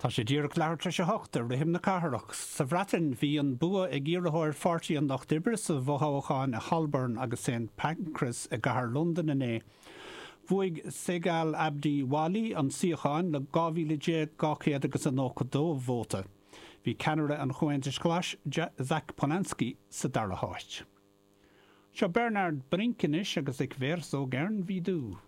Tá sé díreach leathuair tar éis a hocht ar Rithim na Cathrach. Sa Bhreatain, bhí an bua ag iarrthóir Pháirtí an Lucht Oibre sa bhfothoghchán i Holborn agus St Pancras i gcathair Londan inné. Bhuaigh Segal Abdi Wali an suíochán le 12,200 agus a 92 vóta. Bhí ceannaire an Chomhaontais Ghlais, Zack Polanski, sa dara háit. Seo Bernhard Brink anois agus Ich wär so gern wie du.